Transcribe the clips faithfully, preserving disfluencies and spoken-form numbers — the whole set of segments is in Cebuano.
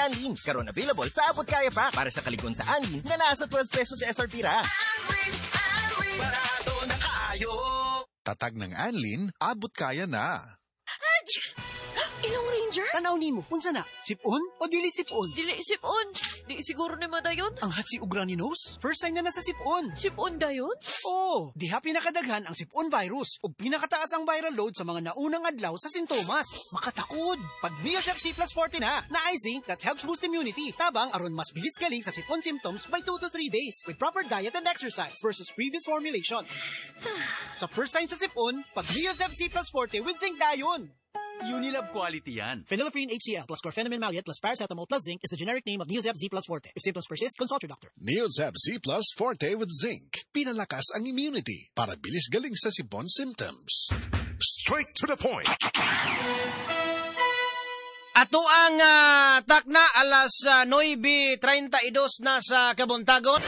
Anlene. Karon available sa Abot Kaya Pack para sa kalig-on sa Anlene na nasa twelve pesos S R P ra. Anlene, Anlene, barato na kaayo. Tatag ng Anlene, abot kaya na. Ilong Ranger? Tanaw nimo, unsa na? Sipon o dili sipon? Dili sipon. Di siguro ni madayon. Ang hatsi og runny nose? First sign na nasa sipon. Sipon dayon? Oo, diha pinakadaghan ang sipon virus ug pinakataas ang viral load sa mga naunang adlaw sa sintomas. Makatakod. Pag Neozep C plus forty na, naay zinc that helps boost immunity. Tabang aron mas bilis galing sa sipon symptoms by two to three days with proper diet and exercise versus previous formulation. Sa first sign sa sipon, pag Neozep C plus forty with zinc dayon. Unilab quality yan. Phenylephrine H C L plus chlorphenamine maleate plus paracetamol plus zinc is the generic name of Neozep Z plus Forte. If symptoms persist, consult your doctor. Neozep Z plus Forte with zinc. Pinalakas ang immunity para bilis galing sa sipon symptoms. Straight to the point. Ato ang uh, takna alas uh, nuwebe treinta y dos na sa Kabuntagon.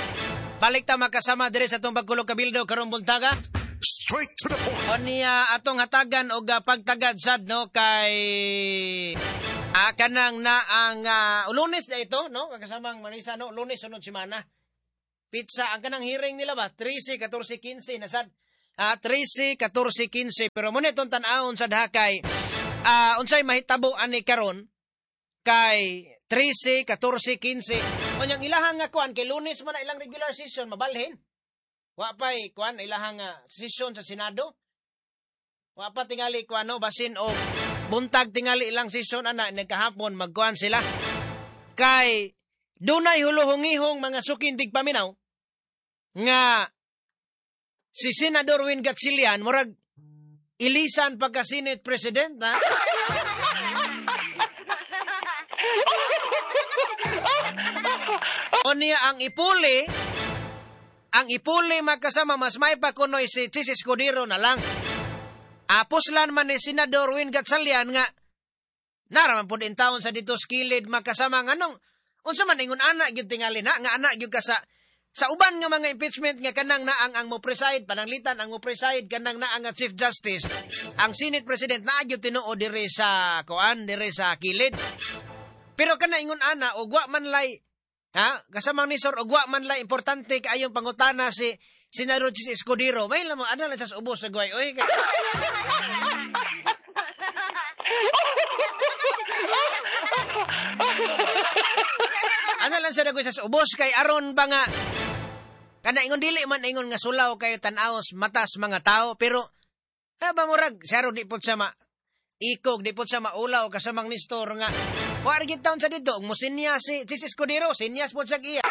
Balik ta makasama diri sa atong Pagkulog Kabildo karong buntaga. Straight to the point. O niya atong hatagan og uh, pagtagad sad no kay ah, kanang na ang uh, Lunes na ito no kasamang Manisa no Lunes sunod semana. Pizza ang kanang hearing nila ba thirteen, fourteen, quince na sad. Ah, thirteen, fourteen, quince pero mo nitong tan-awon sad ha kay ah, unsay mahitabo ani karon kay thirteen, fourteen, quince. Unyang ilahang nga kuan kay Lunes man na ilang regular session mabalhin. Wa pa'y kuan ilahang uh, session sa Senado. Wa pa tingali kuan no basin og buntag tingali ilang session ana nagkahapon magkuan sila. Kay dunay huluhongihong mga sukin tigpaminaw nga si Senador Win Gatchalian murag ilisan pagka Senate President na. O niya ang ipuli Ang ipuli magkasama mas may pa kunoy si Chiz Escudero na lang. Apuslan man ni Senador Win Gatchalian nga naraman pud in taon sa dito skilid magkasama nganong unsa man ingon ana gyud tingali na nga ana gyud ka sa sa uban nga mga impeachment nga kanang naang ang mo preside pananglitan ang mo preside kanang naang nga Chief Justice ang Senate President naa gyud tinuod diri sa kuan diri sa kilid. Pero kana ingon ana og wa man lay ha kasamang ni Sir og wa man lay importante kaayong pangutana si Senador Chiz Escudero may lamo ana lang sa ubos sa guay oy. Ana lang sa dagway sa ubos kay aron ba nga kana ingon dili man ingon nga sulaw kayo tan-awos matas mga tao pero ha ba murag saro di pud sa ma ikog di pud sa maulaw kasamang Nestor nga wa ra gid taon sa dito mo sinya si Chiz Escudero sinyas pud sa iya.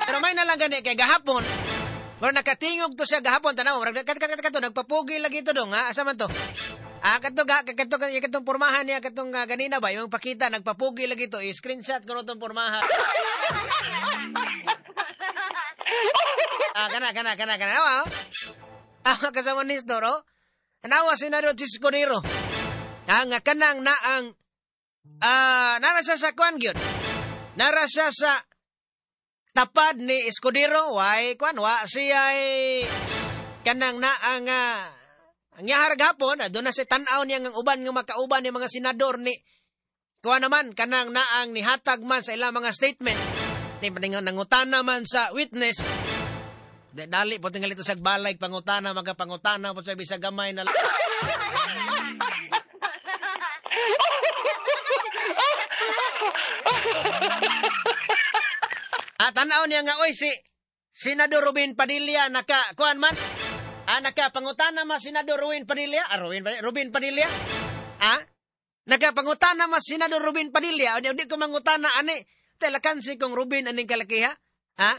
Pero may na lang gani kay gahapon pero nakatingog to siya gahapon tanaw murag kat kat kat nagpapugi lagi to dong ha asa man to ah kadto ga kadto kadtong pormahan niya kadtong uh, ganina ba imong pakita nagpapugi lagi to i-screenshot kuno tong pormahan. Ah kana kana kana kana ah ah kasama ni Nestor oh nawa Senador Chiz Escudero ah nga kanang naang ah nara siya sa kuan gyud nara siya sa tapad ni Escudero way kuan wa siya ay kanang naang uh, ang yahar gapon doon na si tan-aw niya ng uban nga makauban ni mga senador ni kuan naman kanang naang nihatag man sa ilang mga statement ni nangutana man sa witness dali po tingali to sa balay pangutana magapangutana po sa bisag gamay na ah, tanaw niya nga, oy, si Senador Robin Padilla, naka, kuan man? Ah, naka, pangutana ma Senador Robin Padilla? Ah, Robin, Robin Padilla? Ah? Naka, pangutana ma Senador Robin Padilla? O, di, di ko mangutana, ani, telakan si kong Robin, aning kalakiha? Ha?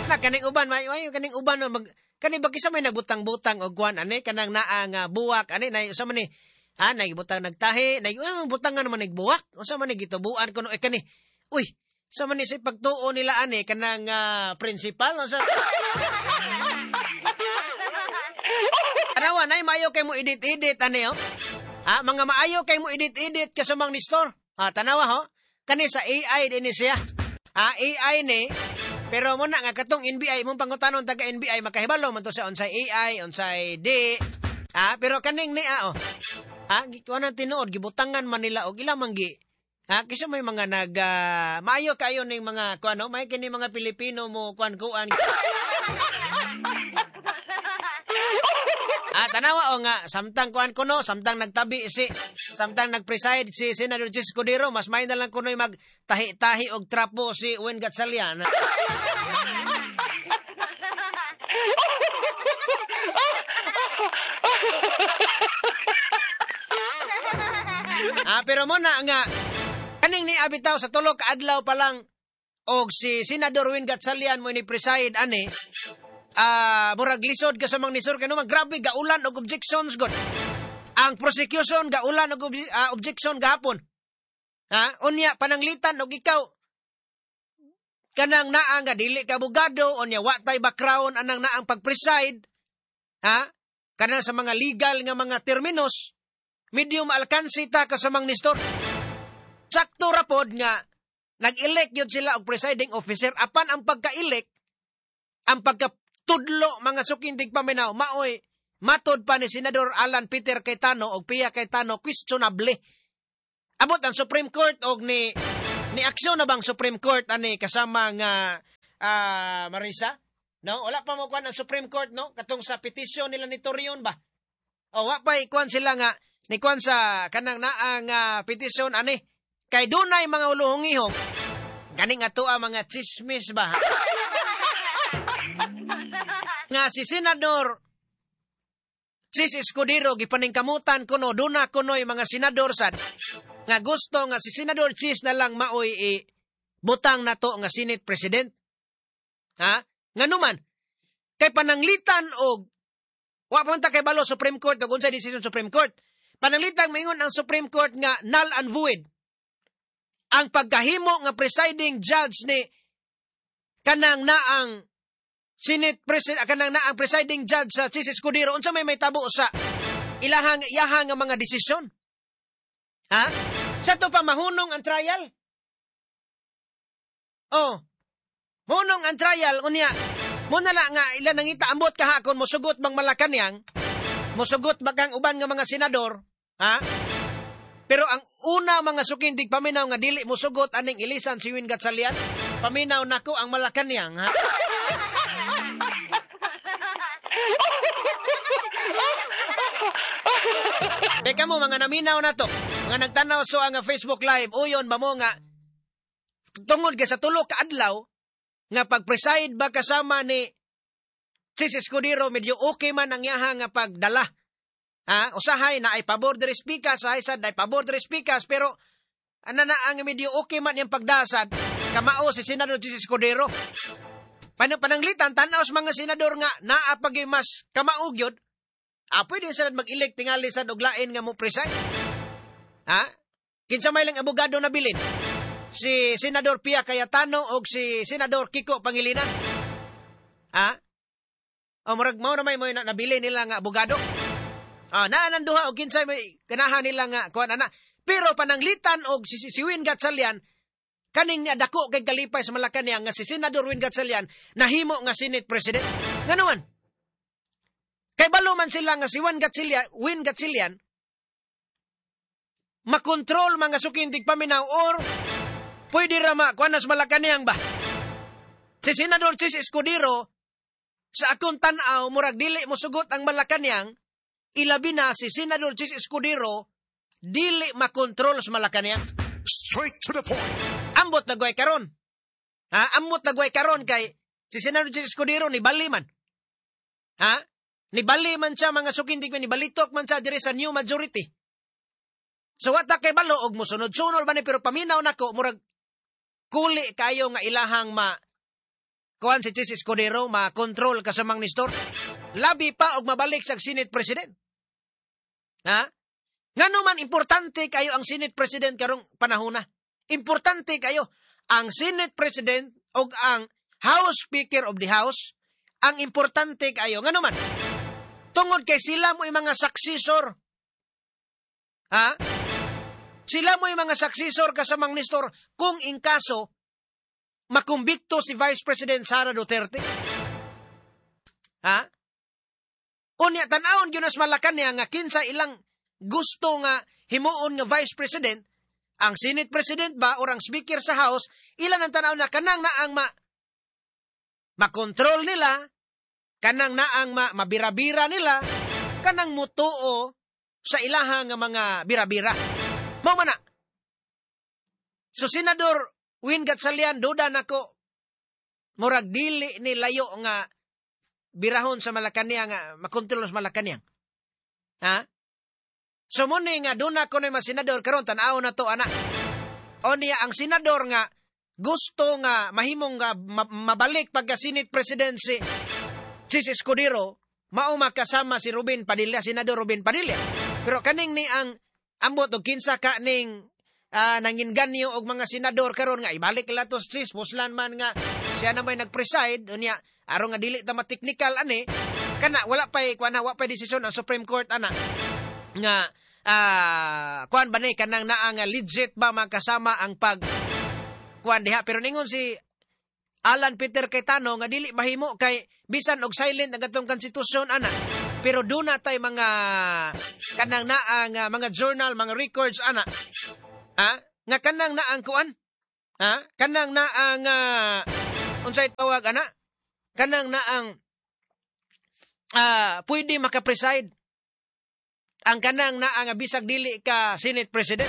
Na, kaning uban, may, may, kaning uban, mag, kaning bakisa may nagbutang-butang o kuan, ani, kanang naa nga buwak, ani, na, sa man ni, ah, nagbutang nagtahi, nag, oh, butang nga naman nagbuwak, o sa man ni, gitubuan ko, no, eh, kani, uy, sa man ni sa pagtuo nila ani kanang uh, principal o sa Anawa nay maayo kay mo edit-edit ani oh. Ha, mga maayo kay mo edit-edit kasamang ni store. Ha, tanawa ho. Kani sa A I din siya. Ha, A I ni pero mo na nga katong N B I mong pangutanon taga N B I makahibalo man to sa unsay A I, unsay D. Ah, pero kaning ni ah, oh. Ah, gikuan ang tinuod gibutangan man nila og ila man gi. Ah, kisa may mga nag uh, maayo kayo ning mga kuan, no? May kini mga Pilipino mo kuan-kuan. Ah, tanawa o nga samtang kuan kuno, samtang nagtabi si samtang nagpreside si Senator Chiz Escudero, mas may na lang kuno'y magtahi-tahi og trapo si Win Gatchalian. Ah, pero mo na nga kaning ni abitaw sa tulo ka adlaw pa lang og si Senador Win Gatchalian mo ni preside ani. Ah, uh, murag lisod ka sa mga nisor kay naman grabe gaulan og objections god. Ang prosecution gaulan og ob- uh, objection gahapon. Ha? Unya pananglitan og ikaw kanang naa nga dili ka abogado, unya wa tay background anang naang pag-preside. Ha? Kanang sa mga legal nga mga terminos, medium alkansi ta ka sa mga nistor. Sakto ra pod nga nag-elect yun sila og presiding officer apan ang pagka-elect, ang pagka tudlo mga sukindig paminaw maoy matod pa ni Senador Alan Peter Cayetano og Pia Cayetano questionable. Abot ang Supreme Court og ni ni aksyon na bang Supreme Court ani kasama nga uh, Marisa? No, wala pa mo kuan ang Supreme Court, no, katong sa petisyon nila ni Torion ba? O wa pa ikuan sila nga ni kuan sa kanang naa nga petisyon ani kay dunay mga uluhong-ihong ganing ato ang mga chismis ba? Nga si Senador Chiz Escudero gipaningkamutan kuno duna kunoy mga senador sad nga gusto nga si Senador Chiz na lang maoy i butang nato nga Senate President. Ha? Nganuman kay pananglitan og wa pa man ta kay balo Supreme Court og unsay decision Supreme Court. Pananglitan maingon ang Supreme Court nga null and void ang pagkahimo nga presiding judge ni kanang naang Senate President, kanang na ang presiding judge sa Chiz Escudero, unsa may may tabo sa ilahang iyahang nga mga desisyon? Ha? Sa to pa mahunong ang trial? Oh. Mahunong ang trial unya. Mo na la nga ila nangita ambot kahakon mosugot bang Malacañang, mosugot ba kang uban nga mga senador, ha? Pero ang una mga sukindig paminaw nga dili mosugot aning ilisan si Win Gatchalian, paminaw nako ang Malacañang, ha? Teka mo, mga naminaw na to, mga nagtanaw so ang Facebook Live, uyon ba mo nga, tungod kay sa tulo ka adlaw, nga pag-preside ba kasama ni Chiz Escudero, medyo okay man ang yaha nga pagdala. Ha? Usahay na ay pabor diri speakers, usahay sad na ay pabor diri speakers, pero ana na ang medyo okay man yung pagdasad, kamao si Senador Chiz Escudero. Pananglitan, tanaw sa mga senador nga naa pag mas kamaog yun, ah, pwede sad mag-elect tingali sad og lain nga mo preside. Ha? Kinsa may lang abogado na bilin? Si Senador Pia Cayetano og si Senador Kiko Pangilinan. Ha? O murag mao na may mo na nabili nila nga abogado. Ah, naa nang duha og kinsay may kanahan nila nga kuan ana. Pero pananglitan og si, si Win Gatchalian kaning niya dako kay kalipay sa Malacañang nga si Senador Win Gatchalian nahimo nga Senate President. Ngano man? Kay balo man sila nga si Win Gatchalian, Win Gatchalian makontrol mga sukindig paminaw or pwede ra ma kuan sa Malacañang ba? Si Senador Chiz Escudero sa akong tan-aw murag dili mosugot ang Malacañang, ilabi na si Senador Chiz Escudero dili makontrol sa Malacañang. Straight to the point. Ambot na guay karon. Ha, ambot na guay karon kay si Senador Chiz Escudero ni bali man. Ha? Ni bali man siya mga sukindig man, ni balitok man siya diri sa new majority. So wata kay balo og mosunod-sunod ba ni pero paminaw nako murag kuli kayo nga ilahang ma kuan si Chiz Escudero ma-control kasamang nistor. Labi pa og mabalik sa Senate President. Ha? Ngano man importante kayo ang Senate President karong panahona. Importante kayo ang Senate President og ang House Speaker of the House, ang importante kayo. Ngano man? Tungod kay sila mo yung mga successor. Ha? Sila mo yung mga successor kasamang nistor kung in kaso makumbikto si Vice President Sara Duterte. Ha? Unya tan-awon gyud sa Malacañang nga kinsa ilang gusto nga himuon nga vice president, ang Senate President ba or ang Speaker sa House, ilan ang tanaw na kanang naang ma makontrol nila, kanang naang ma mabira-bira nila, kanang mutuo sa ilaha nga mga bira-bira. Mao man na. So Senador Win Gatchalian, duda nako murag dili ni layo nga birahon sa Malacañang, nga makontrol sa Malacañang. Ha? So mo ni nga doon ako na mga senador karon tan-aw na to ana. O niya ang senador nga gusto nga mahimong nga mabalik pagka Senate President si Chis Escudero, mao makasama si Ruben Padilla, Senador Ruben Padilla. Pero kaning ni ang ambot og kinsa ka ning uh, nanginganyo og mga senador karon nga ibalik nila to Chis, puslan man nga siya na may nag-preside unya aron nga dili ta ma-technical ani kana wala pay kuan wa pay desisyon ang Supreme Court ana nga uh, kuan ba ni kanang naa nga legit ba makasama ang pag kuan diha. Pero ningon si Alan Peter Cayetano nga dili mahimo kay bisan og silent ang atong konstitusyon ana, pero duna tay mga kanang naa nga mga journal, mga records ana, ha, nga kanang naang kuan, ha, kanang naang uh, unsay tawag ana, kanang naang uh, pwede maka-preside ang kanang naa nga bisag dili ka Senate President.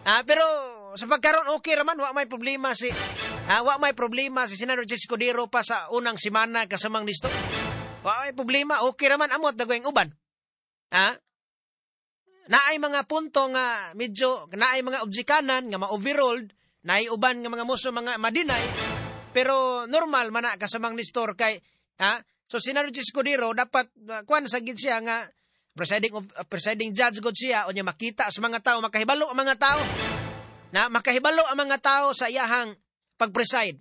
Ah, pero sa pagkaron okay raman, wa may problema si ah, wa may problema si Senator Chis Escudero pa sa unang semana kasamang listo. Wa may problema, okay raman amot dagoyng uban. Ah? Naay mga punto nga medyo naay mga objekanan nga ma-overruled, naay uban nga mga muso mga madinay, pero normal man na kasamang Nestor kay ha? So Senator Chis Escudero dapat uh, kuan sa gid siya nga presiding of, uh, presiding judge god siya, o niya makita sa mga tao, makahibalo ang mga tao. Na makahibalo ang mga tao sa iyahang pag-preside.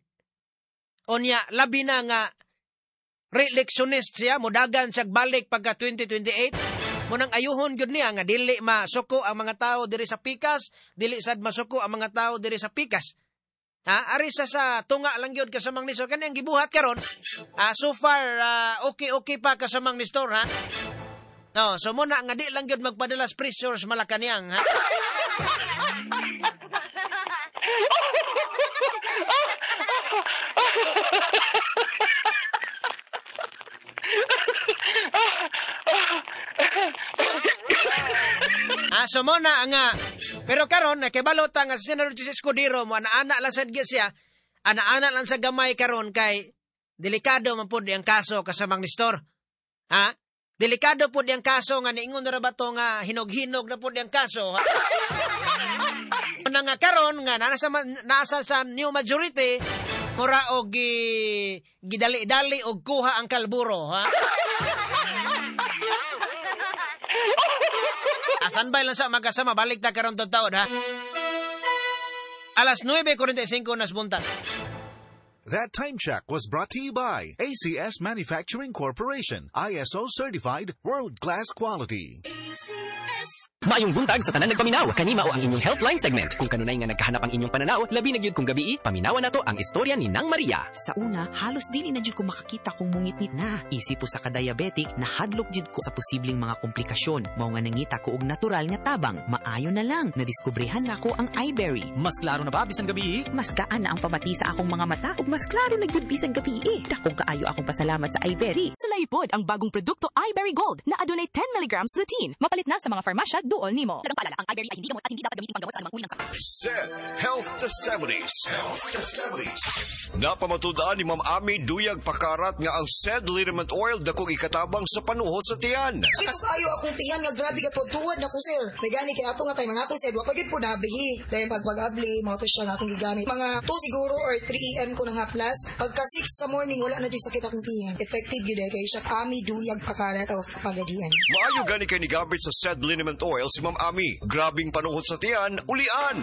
O niya labi na nga re-electionist siya, modagan siya balik pagka twenty twenty-eight. Munang ayuhon gyud niya nga dili masuko ang mga tao diri sa pikas, dili sad masuko ang mga tao diri sa pikas. Ha, ari sa sa tunga lang gyud kasamang Nestor kani ang gibuhat karon. Ah, so far uh, okay okay pa kasamang Nestor ha. No, so muna nga di lang gyud magpadalas pressure sa Malacañang ha. Ah, so muna nga pero karon nakibalota nga si Senator Chis Escudero mo ana-ana lang sad gyud siya, ana-ana lang sa gamay karon kay delikado man pud ang kaso kasamang Nestor. Ha? Delikado po diyang kaso nga niingon na ba to nga hinog-hinog na po diyang kaso. Ha? Na nga karon nga nasa, nasa sa new majority mura og gi, gidali-dali og kuha ang kalburo. Ha? Asan ba lang sa magkasama? Balik ta karon taon ha. Alas nuwebe kwarenta y singko nas buntag. That time check was brought to you by A C S Manufacturing Corporation, I S O certified, world-class quality. A C S. Maayong buntag sa tanan nagpaminaw. Kanima o ang inyong Healthline segment. Kung kanunay nga nagkahanap ang inyong pananaw, labi na gyud kung gabii, paminawan nato ang istorya ni Nang Maria. Sa una, halos dili na jud ko makakita kung mungitnit na. Isip po sa kadiabetic, nahadlok jud ko sa posibleng mga komplikasyon. Mao nga nangita ko og natural nga tabang. Maayo na lang, nadiskubrehan nako ang iBerry. Mas klaro na ba bisan gabii? Mas gaan na ang pamati sa akong mga mata ug mas klaro na gyud bisan gabii. Dakong kaayo akong pasalamat sa iBerry. Sulay pod ang bagong produkto iBerry Gold na adunay ten milligrams lutein. Mapalit na sa mga farmasya duol nimo. Dagang paalala, ang iBerry ay hindi gamot at hindi dapat gamitin panggamot sa anumang uri ng sakit. Set Health Testimonies. Health Testimonies. Napamatudan ni Ma'am Ami Duyag Pakarat nga ang said liniment oil dakong ikatabang sa panuhot sa tiyan. Sakit kayo akong tiyan nga grabe ka tuwad na ko sir. May gani kay ato nga tay mga akong sir wa pa gyud po nablihi. Dahil pag pag-abli mao to siya nga akong gigamit. Mga two siguro or three A M ko nang haplas. Pagka six sa morning wala na jud sakit akong tiyan. Effective gyud kay siya Ami Duyag Pakarat of Pagadian. Maayo gani kay nigamit sa said liniment oil si Ma'am Ami. Grabing panuhot sa tiyan, ulian.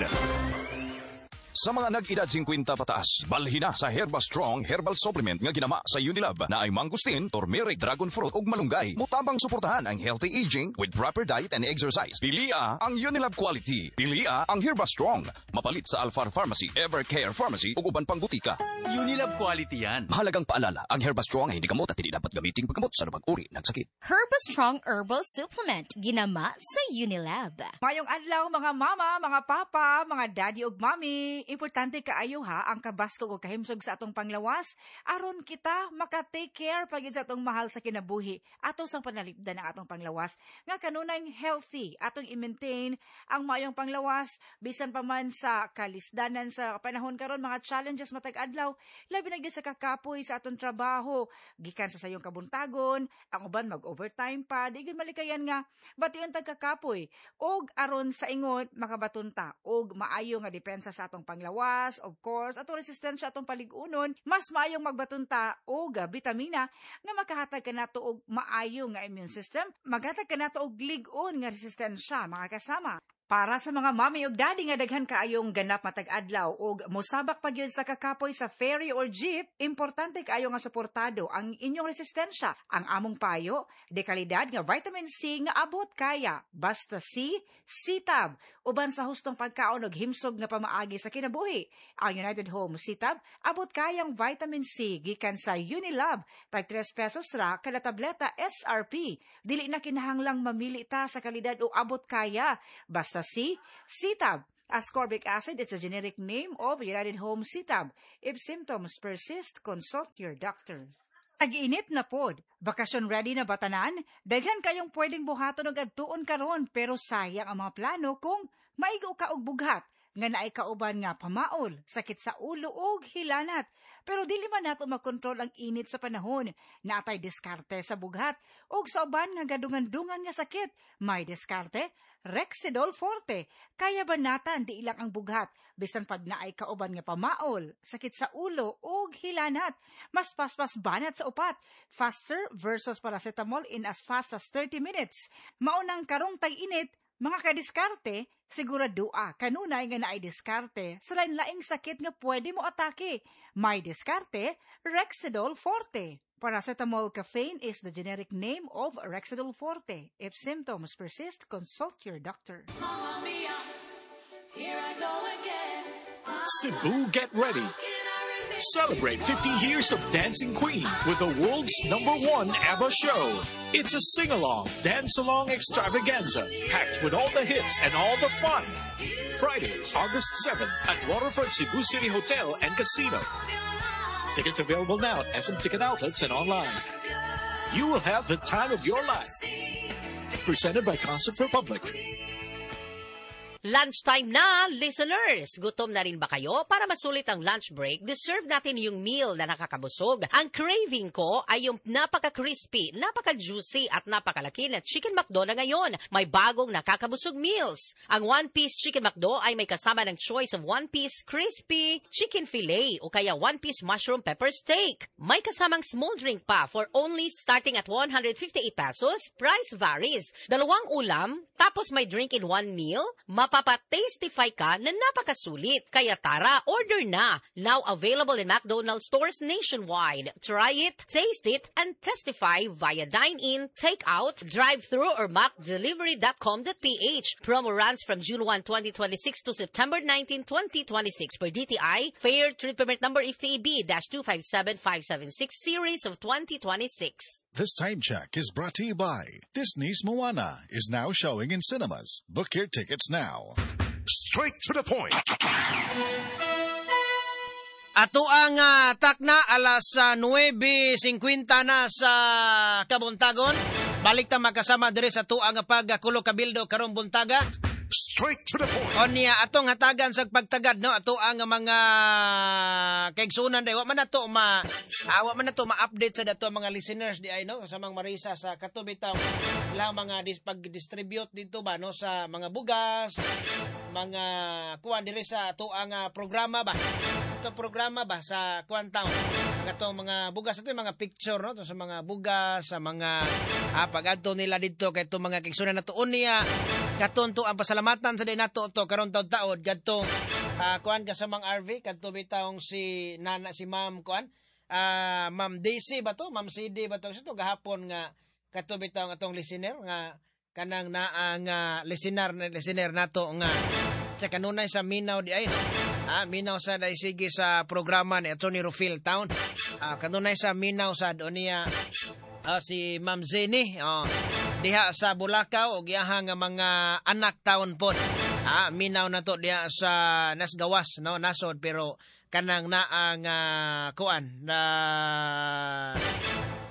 Sa mga nag-edad singkwenta pataas, balhina sa Herba Strong Herbal Supplement nga ginama sa Unilab na ay mangosteen, turmeric, dragon fruit ug malunggay. Mutabang suportahan ang healthy aging with proper diet and exercise. Pilia ang Unilab quality. Pilia ang Herba Strong. Mapalit sa Alfar Pharmacy, Evercare Pharmacy ug uban pang butika. Unilab quality yan. Mahalagang paalala, ang Herba Strong ay hindi gamot at hindi dapat gamiting paggamot sa anumang uri ng sakit. Herba Strong Herbal Supplement, ginama sa Unilab. Mayong adlaw mga mama, mga papa, mga daddy ug mommy. Importante kaayo ha ang kabaskog ug kahimsog sa atong panglawas aron kita maka-take care pagid sa atong mahal sa kinabuhi. Ato sang panalipdan ang atong panglawas nga kanunay healthy, atong i-maintain ang maayong panglawas bisan pa man sa kalisdanan sa panahon karon, mga challenges matag adlaw, labi na gyud sa kakapoy sa atong trabaho gikan sa sayong kabuntagon, ang uban mag-overtime pa, di gyud malikayan nga bation tag kakapoy. Og aron sa ingon makabaton ta og maayo nga depensa sa atong panglawas, of course atong resistensya, atong palig-unon, mas maayong magbaton ta og bitamina nga makahatag kanato og maayo nga immune system, maghatag kanato og lig-on nga resistensya, mga kasama. Para sa mga mami ug daddy nga daghan kaayong ganap matag adlaw ug mosabak pa gyud sa kakapoy sa ferry or jeep, importante kaayo nga suportado ang inyong resistensya. Ang among payo, de kalidad nga vitamin C nga abot kaya. Basta C, C-Tab. Uban sa hustong pagkaon ug himsog nga pamaagi sa kinabuhi. Ang United Home C-Tab abot kayang vitamin C gikan sa Unilab, tag tres pesos ra kada tableta S R P. Dili na kinahanglang mamili ta sa kalidad o abot kaya. Basta C, C-Tab. Ascorbic acid is the generic name of United Home C-Tab. If symptoms persist, consult your doctor. Tag-init na pod. Bakasyon ready na ba tanan? Daghan kayong pwedeng buhaton og adtuon karon, pero sayang ang mga plano kung maigo ka og bughat nga naay kauban nga pamaol, sakit sa ulo ug hilanat. Pero dili man nato makontrol ang init sa panahon. Naatay diskarte sa bughat ug sa uban nga gadungan-dungan nga sakit. May diskarte, Rexidol Forte. Kaya ba natan di ilang ang bughat bisan pag naay kauban nga pamaol, sakit sa ulo ug hilanat. Mas paspas banat sa upat. Faster versus paracetamol in as fast as thirty minutes. Maunang karong tag-init, mga kadiskarte, siguradua kanunay nga naay diskarte sa lain-laing sakit nga pwede mo atake. May diskarte, Rexidol Forte. Paracetamol caffeine is the generic name of Rexidol Forte. If symptoms persist, consult your doctor. Mamma mia, here I go again. Cebu, get ready. Celebrate fifty years of Dancing Queen with the world's number one ABBA show. It's a sing-along, dance-along extravaganza packed with all the hits and all the fun. Friday, August seventh at Waterfront Cebu City Hotel and Casino. Tickets available now at S M Ticket Outlets and online. You will have the time of your life. Presented by Concept Republic. Lunchtime na, listeners! Gutom na rin ba kayo? Para masulit ang lunch break, deserve natin yung meal na nakakabusog. Ang craving ko ay yung napaka-crispy, napaka-juicy at napakalaki na Chicken McDo na ngayon. May bagong nakakabusog meals. Ang one-piece Chicken McDo ay may kasama ng choice of one-piece crispy chicken fillet o kaya one-piece mushroom pepper steak. May kasamang small drink pa for only starting at one hundred fifty-eight pesos. Price varies. Dalawang ulam, tapos may drink in one meal, mapapa-tastify ka na napakasulit. Kaya tara, order na. Now available in McDonald's stores nationwide. Try it, taste it, and testify via dine-in, take-out, drive-thru, or mac delivery dot com dot p h. Promo runs from June first, twenty twenty-six to September nineteenth, twenty twenty-six per D T I. Fair Trade Permit Number F T E B dash two five seven five seven six Series of twenty twenty-six. This time check is brought to you by Disney's Moana is now showing in cinemas. Book your tickets now. Straight to the point. Ato ang uh, takna alas uh, nuwebe singkwenta na sa kabuntagon. Balik ta makasama diri sa tuang pagkulo kabildo karong buntaga. Straight to the point. Onya atong hatagan sa pagtagad no ato ang mga kaigsunan day wa man nato ma ah, wa man nato ma-update sa dato mga listeners di ay no kasamang Marisa sa kato bitaw lang mga dis, pag-distribute dito ba no sa mga bugas, mga kuan diri sa ato ang uh, programa ba. Ito programa ba sa kuan town. Katong mga bugas ato mga picture no to sa mga bugas sa mga ah, pag-adto nila didto kay itong mga kaigsuonan nato unya katon to ang pasalamatan sa di nato to karon taud-taod kadtong ah, kuan kasamang R V kadto bitawng si nana si Ma'am kuan ah, Ma'am Daisy ba to, Ma'am C D ba to, to gahapon nga kadto bitawng atong listener nga kanang naa nga listener na listener nato nga sa kanunay sa Minaw di ay no? Ah, Minaw sa dai sige sa programa ni Attorney Rufil Town. Ah, kanunay sa Minaw sa niya ah, si Ma'am Jenny oh, diha sa Bulacau og iyaha nga mga anak taon pod. Ah, Minaw na to diha sa Nasgawas no nasod pero kanang naa nga kuan na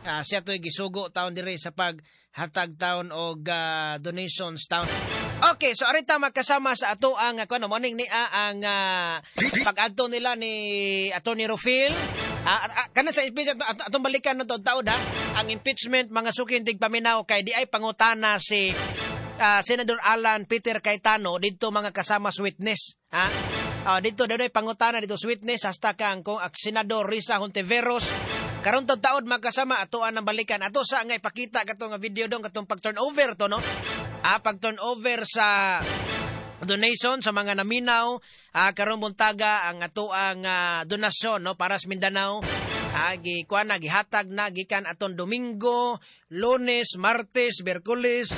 ah, siya to'y gisugo taon diri sa paghatag taon og ah, donations taon. Okay, so arita magkasama sa ato ang kuan morning ni ang uh, pag-adto nila ni Attorney Rufil. Ah, ah, kanan sa impeachment ato, atong balikan no taod ha. Ang impeachment mga suking tigpaminaw kay di ay pangutana si ah, Senador Alan Peter Cayetano didto mga kasama sa witness ha. Ah, dito daw pangutana dito sa witness hasta kang kung ang Senador Risa Hontiveros karon taod taod magkasama ato ang balikan ato sa nga ipakita kato nga video dong katong pag turnover to no ah pag turnover sa donation sa mga naminaw ah, karon buntaga ang ato ang ah, donasyon no para sa Mindanao ah, gi kuan na gihatag na gikan aton Domingo, Lunes, Martes, Miyerkules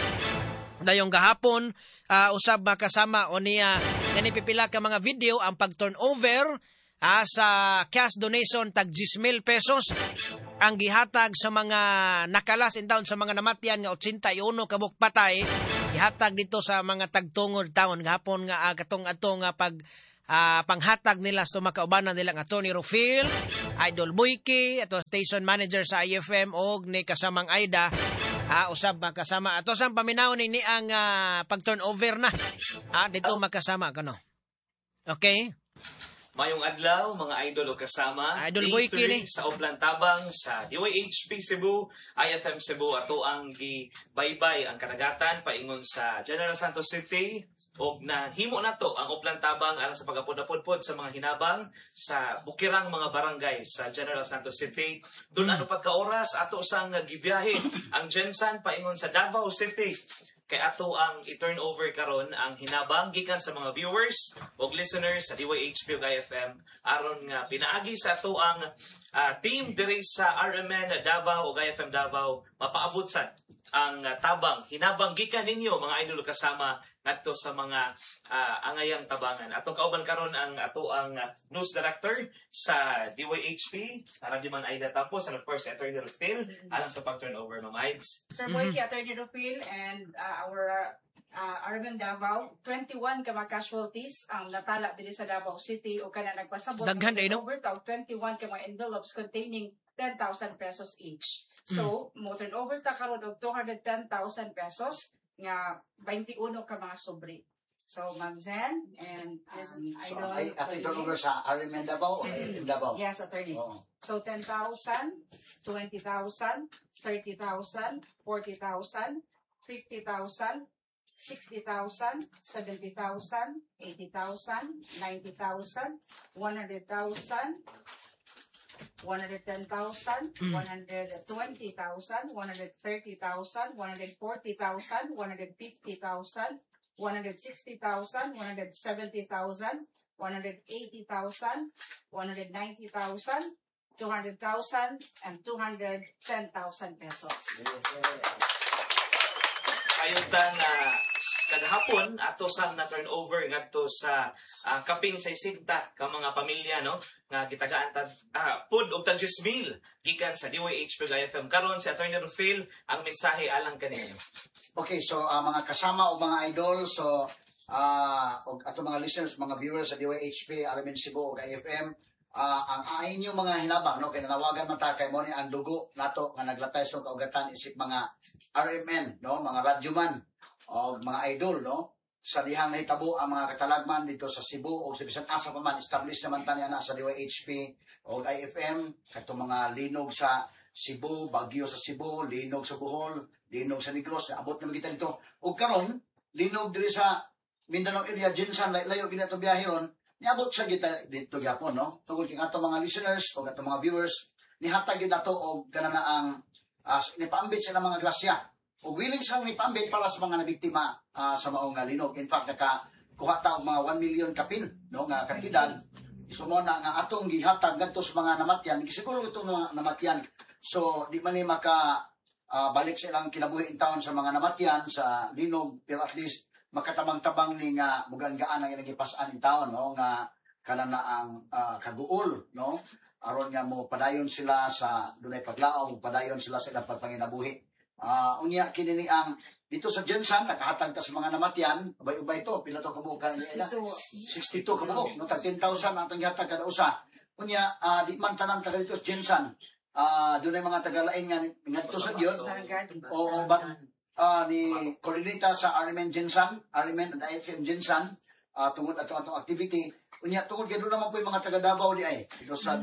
dayong gahapon ah, usab makasama o niya kani pipila ka mga video ang pag turnover ah, sa cash donation tag ten mil pesos ang gihatag sa mga nakalas in town sa mga namatyan nga eighty-one kabuk patay gihatag dito sa mga tagtungod taon gahapon nga ah, katong ato nga pag ah, panghatag nila sa makaubanan nila nga Tony Rufil, Idol Boyke, ato station manager sa I F M og ni kasamang Aida ah, usab makasama ato sang paminaw ni ni ang ah, pag turnover na ah, dito makasama kano. Okay? Mayong adlaw, mga idol o kasama. Idol Day Boyke three ni. sa Oplan Tabang sa D Y H P Cebu, I F M Cebu ato ang gibaybay ang kadagatan paingon sa General Santos City og nahimo nato ang Oplan Tabang alang sa pagapod-apod sa mga hinabang sa bukirang mga barangay sa General Santos City. Doon ano pagka oras ato sang gibiyahe ang Gensan paingon sa Davao City kay ato ang i-turn over karon ang hinabang gikan sa mga viewers ug listeners sa D Y H P ug I F M aron nga pinaagi sa ato ang ah, team diri sa R M N Davao ug I F M Davao mapaabot sad ang ah, tabang hinabang gikan ninyo mga idol kasama ngadto sa mga ah, angayang tabangan. Atong kauban karon ang ato ang ah, news director sa D Y H P, Radyoman Aida Tampos, and of course Attorney Rufil alang sa pag-turn over, Ma'am Aids. Sir Boyke, Attorney Rufil, and uh, our uh, R M N Davao, twenty-one ka mga casualties ang natala diri sa Davao City o kana nagpasabot Daghan ng day, no? over tag twenty-one ka mga envelopes containing ten thousand pesos each. So, mo turn over ta karon og two hundred ten thousand pesos nga twenty-one ka mga sobre. So, Ma'am Zen and um, So, Idol. ay, ato i-turn over sa R M N Davao o I F M Davao? Yes, attorney. Oo. So, ten thousand, twenty thousand, thirty thousand, forty thousand, fifty thousand, sixty thousand, seventy thousand, eighty thousand, ninety thousand, one hundred thousand, one hundred ten thousand, Mm. one hundred twenty thousand, one hundred thirty thousand, one hundred forty thousand, one hundred fifty thousand, one hundred sixty thousand, one hundred seventy thousand, one hundred eighty thousand, one hundred ninety thousand, two hundred thousand, and two hundred ten thousand pesos. Sayon ta nga kagahapon ato sang na turnover ngadto sa ah, kapin sixty ka mga pamilya no nga gitagaan ta ah, pud og tag ten mil gikan sa D Y H P ug I F M. Karon si Attorney Rufil ang mensahe alang kaninyo. Okay, so ah, mga kasama o mga idol, so ah og ato mga listeners, mga viewers sa D Y H P, R M N Cebu ug I F M, ah, ang ang inyong mga hinabang no kay nanawagan man ta kay mo ni ang dugo nato nga naglatay sa kaugatan isip mga R M N no, mga radyoman o mga idol no sa dihang nahitabo ang mga katalagman dito sa Cebu o sa bisan asa pa man. Established naman tani ana sa D Y H P o I F M katong mga linog sa Cebu, bagyo sa Cebu, linog sa Bohol, linog sa Negros, abot na kita dito. Ug karon linog diri sa Mindanao area, Gensan, layo gid ato biyahe ron, niabot sa kita dito gyapon no. Tungod kay ato mga listeners o ato mga viewers Nihatag yun nato og kana na ang uh, nipaambit sila mga grasya. O willing silang nipaambit para sa mga nabiktima uh, sa maong uh, linog. In fact, nakakuha ta og mga one million kapin, no, nga kantidad. So mo na nga atong gihatag ngadto sa mga namatyan, gisiguro itong mga namatyan. So di man ni maka uh, balik sa ilang kinabuhi in taon sa mga namatyan sa linog, pero at least makatabang-tabang ni nga mugaan-gaan ang ilang gipas-an in taon, no, nga kana na ang uh, kaguol, no, aron nga mo padayon sila sa dunay paglaom, padayon sila sa ilang pagpanginabuhi. Uh, unya kini ni ang dito sa Jensan nakahatag ta sa mga namatyan, ubay-ubay to, pila to kabuok ka sixty-two kabuok, no, tag ten thousand ang atong gihatag kada usa. Unya uh, di man tanan taga dito sa Jensan. Ah, uh, dunay mga tagalain nga ngadto sa Dios. O but uh, ni koordinata sa R M N Jensan, R M N and I F M Jensan, uh, tungod ato atong activity. Unya tungod kay doon naman po yung mga taga Davao di ay dito sa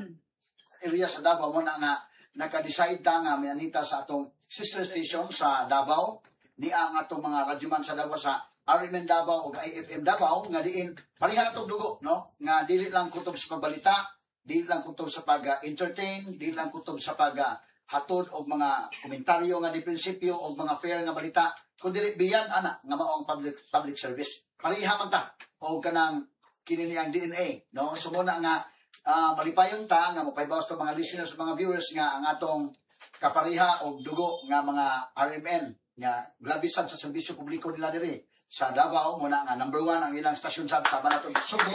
area sa Davao mo na nga naka-decide ta nga mianita sa atong sister station sa Davao, ni ang atong mga radyoman sa Davao sa R M N Davao o I F M Davao nga diin pareha atong dugo, no, nga dili lang kutob sa pagbalita, dili lang kutob sa pag-entertain, dili lang kutob sa paghatod og mga komentaryo nga di prinsipyo og mga fair nga balita, kundi biyan ana nga mao ang public public service. Pareha man ta og kanang kini ni ang D N A, no. So mo na nga Uh, malipayon ta nga mapaybawas to mga listeners, mga viewers nga ang atong kapariha og dugo nga mga R M N nga grabe sad sa serbisyo publiko nila diri sa Davao, muna nga number one ang ilang stasyon sa tama nato Subo.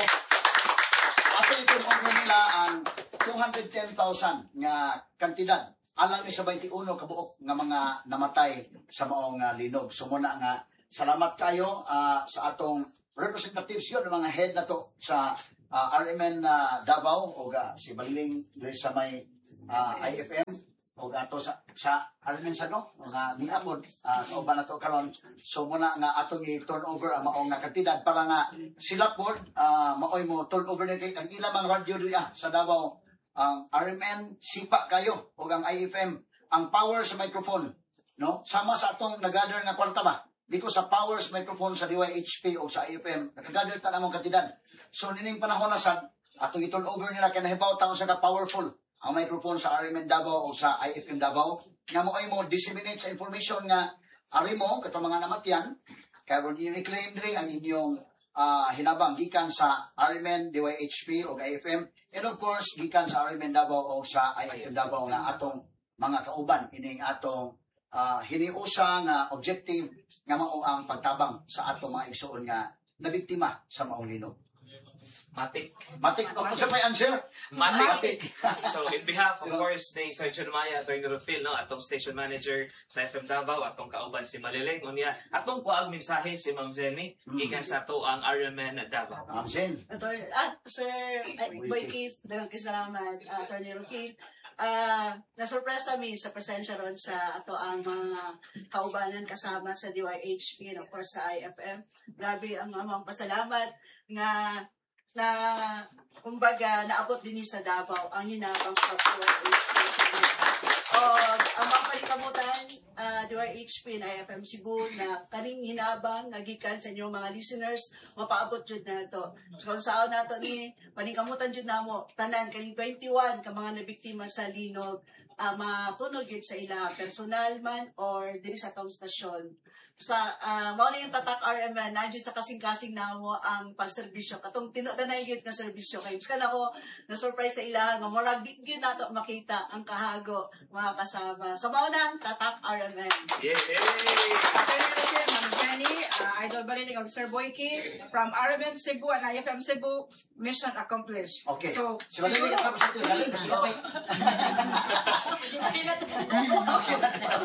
Ato itong over nila ang two hundred ten thousand nga kantidad alang ni sa twenty-one kabuok nga mga namatay sa maong uh, linog. So muna nga salamat kayo uh, sa atong representatives yun, mga head na to sa Uh, R M N uh, Davao o uh, si Baliling diri sa may uh, I F M o ato sa, sa R M N sa no nga niabot uh, kauban nato karon. So muna nga atong i-turn over ang maong nga kantidad para nga sila pod uh, maoy mo turn over ni kay ang ilang mga radyo diri ah, sa Davao, ang R M N sipa kayo o ang I F M ang power sa microphone, no, sama sa atong nagather nga kwarta ba dito sa power sa microphone sa D Y H P o sa I F M nakagather ta namong kantidad. So nining panahon na sad atong i-turn over nila kay nahibaw ta sa ka powerful ang microphone sa R M N Davao o sa I F M Davao nga mo ay mo disseminate sa information nga ari mo katong mga namatyan karon i-claim diri ang inyong uh, hinabang gikan sa R M N, D Y H P o I F M and of course gikan sa R M N Davao o sa I F M Davao nga atong mga kauban ining atong uh, hiniusa nga objective nga mao ang pagtabang sa atong mga igsuon nga nabiktima sa maong linog. Matik. Matik. Kung sa may answer? Matik. So, in behalf, of course, ni Sir Jeremiah, Attorney Rufil, no, atong station manager sa F M Davao, atong kauban si Maliling, unya, atong kuang mensahe si Ma'am Zenny, mm. gikan sa ato ang R M N Davao. Ma'am Zen. Attorney, ah, Sir Boy Keith, daghang salamat, uh, Attorney Rufil. Uh, nasurpresa mi sa presensya ron sa ato ang mga kaubanan kasama sa D Y H P and of course sa I F M. Grabe ang amang pasalamat nga na kumbaga naabot din sa Davao ang hinabang sa D Y H P. O ang mga palikamutan uh, D Y H P and I F M Cebu na kaning hinabang nagikan sa inyong mga listeners mapaabot jud nato. So kung saan nato ni paningkamutan jud namo tanan kaning twenty-one ka mga nabiktima sa linog uh, matunog jud sa ila personal man or diri sa atong stasyon. Sa uh, mao na yung tatak R M N nandiyon sa kasing-kasing namo ang pagserbisyo katong tinudanay gyud nga serbisyo kay biskan ako na surprise sa ila nga murag di gyud nato makita ang kahago mga kasama. So mao na ang tatak R M N. Yay! Ma'am Jenny, uh, Idol Baliling og Sir Boyki from R M N Cebu and I F M Cebu, mission accomplished. Okay. So, si Baliling ang tapos ito, galing sila pa.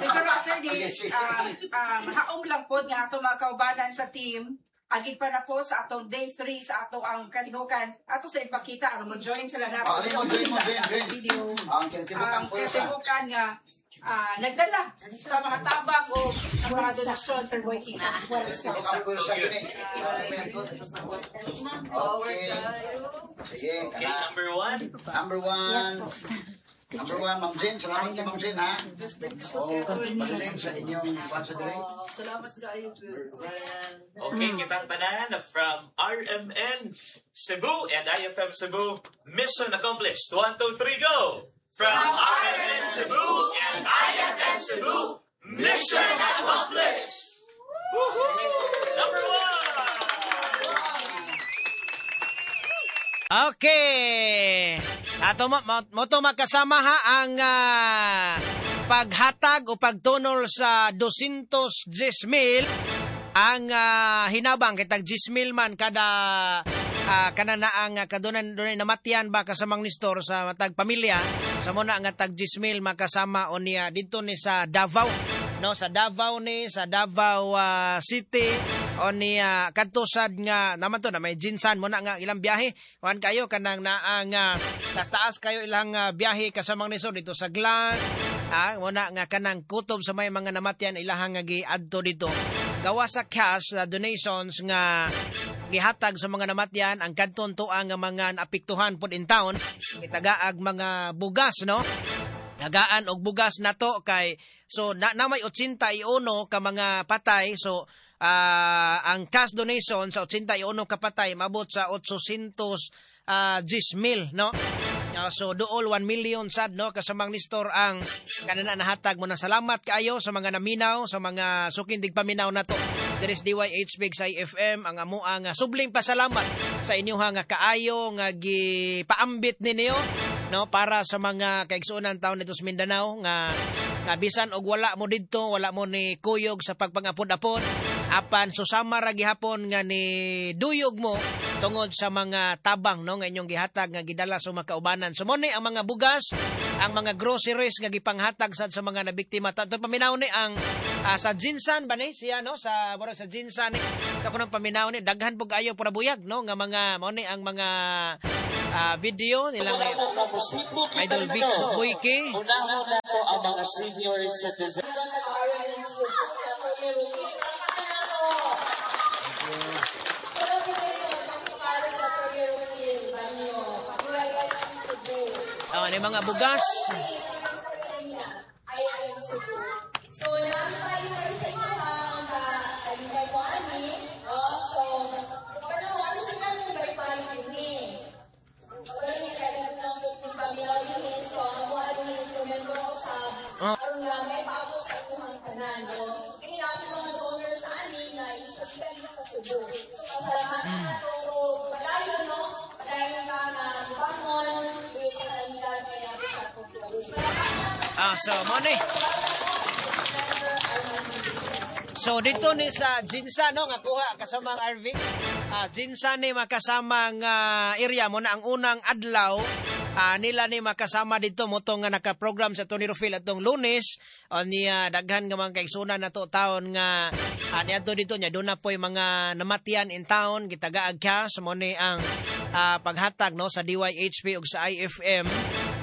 Siguro attorney, um, um, haom lang po nga ato mga kaubanan sa team. Agi pa na po sa atong day three sa ato ang kalihukan. Ato sa ipakita aron mo join sila na. Ah, mo join mo join join. Ang kinatibukan po sa kinatibukan nga uh, nagdala sa mga tabang o ang mga donasyon, Sir Boyki. Okay. Sige, okay, number one. Number one. Number one, Ma'am Jen. Salamat kay Ma'am Jen, ha? Oh, pagaling sa inyong kwan sa dire. Salamat kayo. Okay, kitang tanan from R M N Cebu and I F M Cebu. Mission accomplished. One, two, three, go! From R M N Cebu and I F M Cebu, mission accomplished! Number one! Okay. Ato mo, mo, mo to makasama ha ang uh, paghatag o pagtunol sa two hundred ten mil ang uh, hinabang kitag ten mil man kada uh, kanana ang uh, kadunan dunay namatian ba kasamang Nestor sa matag pamilya sa muna nga tag ten mil makasama o niya dito ni sa Davao, no, sa Davao ni sa Davao uh, City o niya kadto sad nga naman to na may Jinsan mo na nga ilang biyahe kuan kayo kanang naa nga taas taas kayo ilang uh, biyahe kasamang Nestor dito sa Glan, ah, mo na nga kanang kutob sa may mga namatian ilahang nga giadto dito gawa sa cash uh, donations nga gihatag sa mga namatyan ang kadton tuang nga mga naapektuhan pod in town gitagaag mga bugas, no, tagaan og bugas nato kay so na, na may eighty-one ka mga patay, so uh, ang cash donation sa eighty-one ka patay mabot sa eight hundred ten uh, mil, no. Uh, so duol one million sad, no, kasamang Nestor ang kanana nahatag mo na. Salamat kaayo sa mga naminaw, sa mga sukindig paminaw nato diri sa D Y H P sa I F M. Ang amo ang subling pasalamat sa inyo nga kaayo nga gipaambit ninyo, no, para sa mga kaigsuonan taon dito sa Mindanao nga, nga bisan og wala mo didto, wala mo ni kuyog sa pagpangapod-apod, apan susama ra gihapon nga ni duyog mo tungod sa mga tabang, no, nga inyong gihatag nga gidala sa mga kaubanan. So mo ni ang mga bugas, ang mga groceries nga gipanghatag sad sa mga nabiktima. Tato paminaw ni ang uh, sa Jinsan ba ni siya, no, sa murag sa Jinsan ni ako nang paminaw ni daghan pug ayo pura buyag, no, nga mga mo ni ang mga uh, video nilang Idol Big Boyke. Unahon na po ang mga senior citizen. Oh, ni mga bugas. So, namin tayo sa inyo ha, kalingay mo ani. Oh, so, pero ano sila nung balik ini? Pero ni kaya ng paminaw yun, so, ang mga ano instrumento sa aron nga may paabot sa inyong tanan, no? Kini namin mga donors sa amin na i-spend sa Cebu. So, salamat na to, padayon, no? Padayon ka na bangon, sa kalamidad kaya sa Ah, so mo ni. So dito ni sa Jinsa, no, nga kuha kasama ang R V. Ah, Jinsa ni makasama nga area mo na ang unang adlaw ah, nila ni makasama dito mo nga naka-program sa Tony Rufil atong Lunes o niya daghan nga mga kaigsunan nato taon nga ah, niadto dito nya doon na po'y mga namatian in town gitagaag cash mo ni ang ah, paghatag, no, sa D Y H P ug sa I F M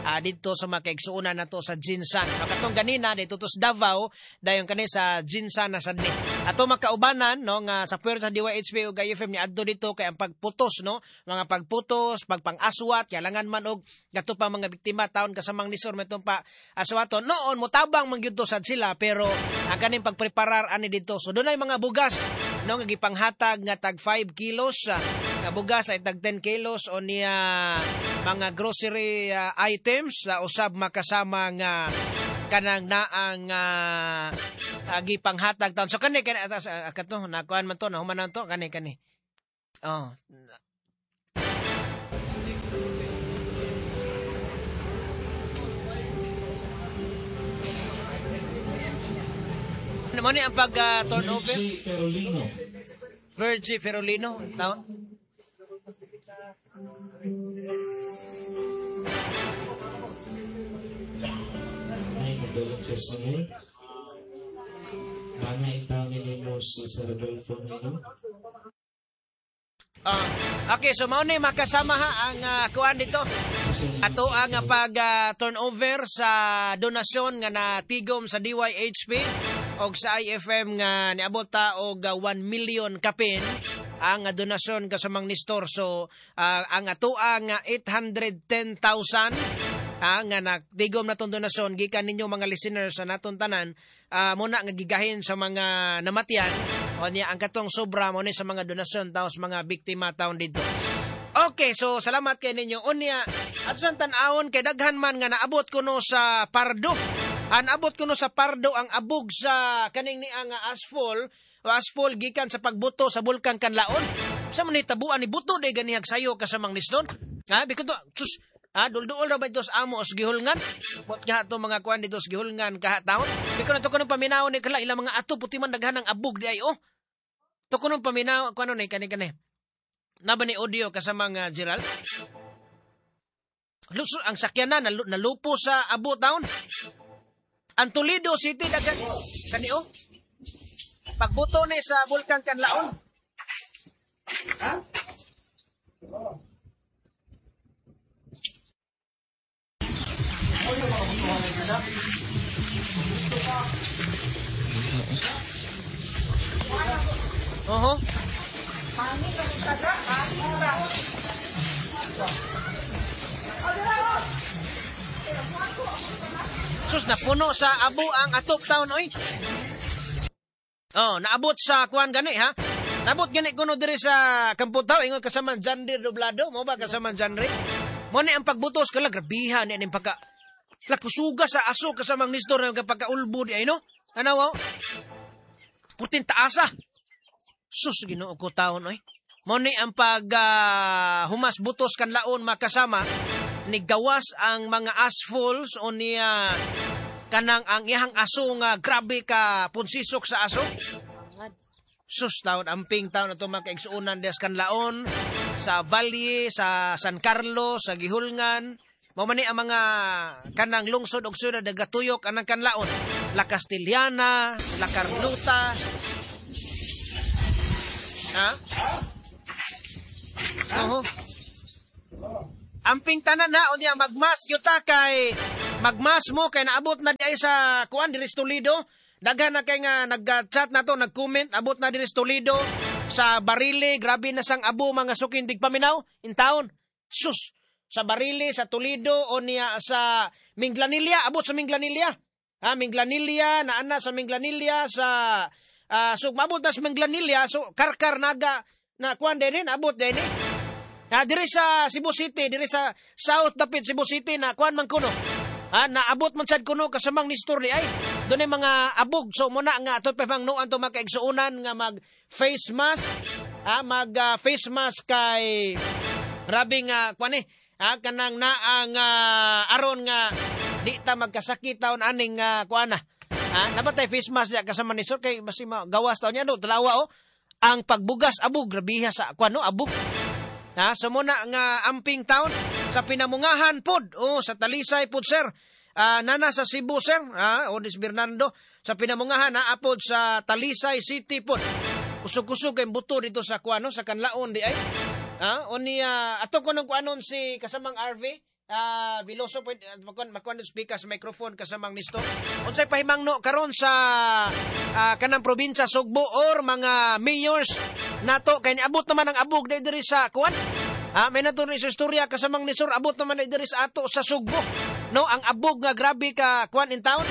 ah, dito sa mga kaigsuonan nato sa Jinsan. No, katong ganina dito to sa Davao, dayon kani sa Jinsan na sad ni. Ato makaubanan, no, nga sa puwersa sa D Y H P ug I F M ni adto dito kay ang pagputos, no, mga pagputos, pagpang-aswat, kailangan man og gato pa mga biktima taon kasamang Nestor metong pa aswaton. Noon motabang man gyud to sad sila pero ang kaning pagpreparar ani dito. So dunay mga bugas, no, nga gipanghatag nga tag five kilos ah, nga bugas ay tag ten kilos o niya mga grocery ah, items sa usab makasama nga kanang naang uh, gipanghatag taon. So kani kani uh, kato nakuan man to, nahuman man to kani kani. Oh. Ano mo ni ang pag uh, turnover? Virgie Ferolino. Virgie Ferolino, taon. Ay, condolences Manuel. Mga itaw ninyo si Sir Rodolfo Nino. Ah, okay, so mao ni makasama ha ang uh, kuan dito. Ato ang uh, pag uh, turnover sa donasyon nga natigom sa D Y H P og sa I F M nga niabot ta og uh, one million kapin ang uh, donasyon kasamang Nestor. So uh, ang atoa nga eight hundred ten thousand ah, nga natigom natong donasyon gikan ninyo mga listeners sa naton tanan uh, muna nga gigahin sa mga namatian o niya ang katong sobra mo ni sa mga donasyon taos mga biktima taon dito. Okay. Okay, so salamat kay ninyo. Unya, at sa tan-awon kay daghan man nga naabot kuno sa Pardo. An abot kuno sa Pardo ang abog sa kaning niya nga asphalt o asphalt gikan sa pagbuto sa Bulkang Kanlaon. Sa man tabuan ni buto day ganihag sayo kasamang Niston. Ha, bikon to, sus, ah, dulduol ra ba ito sa amo os gihulngan? Bot nga ato mga kuan dito sa gihulngan kaha taon. Bikon ato kuno paminaw ni kala ilang mga ato puti man daghan ang abog di ay oh. To kuno paminaw kuno ni kani kani. Naba ni audio kasamang uh, Gerald? Luso, ang sakyanan nalu, nalupo sa abo taon. Ang Toledo City daghan kani oh. Pagbuto ni sa Bulkang Kanlaon. Ha? Oho. Sus, napuno sa abo ang atop town oy. Oh, naabot sa kuan gani ha. Naabot gani kuno diri sa Kamputaw ingon kasama Jandir Doblado, mo ba kasama Janre? Mo ni ang pagbutos kala grabihan ni aning pagka lakusuga sa aso kasamang Nestor nga pagkaulbo di ay no. Anaw? Putin taasa. Sus, Ginoo ko taon oy. Mo ni ang pag uh, humas butos kanlaon makasama ni gawas ang mga asphalts o niya kanang ang iyang aso nga grabe ka punsisok sa aso. Sus taon amping taon ato mga kaigsuonan des kanlaon sa Valle, sa San Carlos, sa Gihulngan. Mao man ni ang mga kanang lungsod og syudad nagatuyok anang kanlaon. La Castellana, La Carlota. Ha? Oho. Amping tanan na unya magmas gyud kay magmas mo kay naabot na di ay sa kuan diri sa Toledo. Daghan na kay nga nag-chat na to, nag-comment, abot na diri sa Toledo, sa Barili, grabe na sang abo mga sukin digpaminaw in town. Sus, sa Barili, sa Toledo o niya sa Minglanilla, abot sa Minglanilla. Ha, Minglanilla, naana sa Minglanilla sa uh, so mabot na sa Minglanilla, so Karkar Naga na kuan din abot din. Ha, diri sa Cebu City, diri sa South dapit Cebu City na kuan man kuno. Ha, naabot man sad kuno kasamang Nestor ni ay. Doon ay mga abog. So muna nga ato pa pangnuan to makaigsuonan nga mag face mask, ha, mag uh, face mask kay grabe nga kuan eh. Ha, kanang naang uh, aron nga di ta magkasakit taon aning uh, kuan na. Ha, nabatay face mask ya kasama ni Sir kay basi gawas taon niya no, talawa oh. Ang pagbugas abog grabiha sa kuan no, abog. Ha, so muna nga amping taon sa Pinamungahan pod, oh, sa Talisay pod sir. Uh, nana sa Cebu sir, ha, Odis Bernardo sa Pinamungahan ha, apod sa Talisay City pod. Kusog-kusog kay buto dito sa kuano sa kanlaon di ay. Ha, o niya ato ko nung kuanon si kasamang R V uh, Veloso pwede makuan makuan speaker sa microphone kasamang Nestor. Unsay pahimangno karon sa uh, kanang probinsya Sugbo or mga mayors nato kay niabot naman ang abog di diri sa kuan. Ah, may nato ni sa istorya kasamang Nestor abot naman di diri sa ato sa Sugbo. No, ang abog nga grabe ka kuan in town.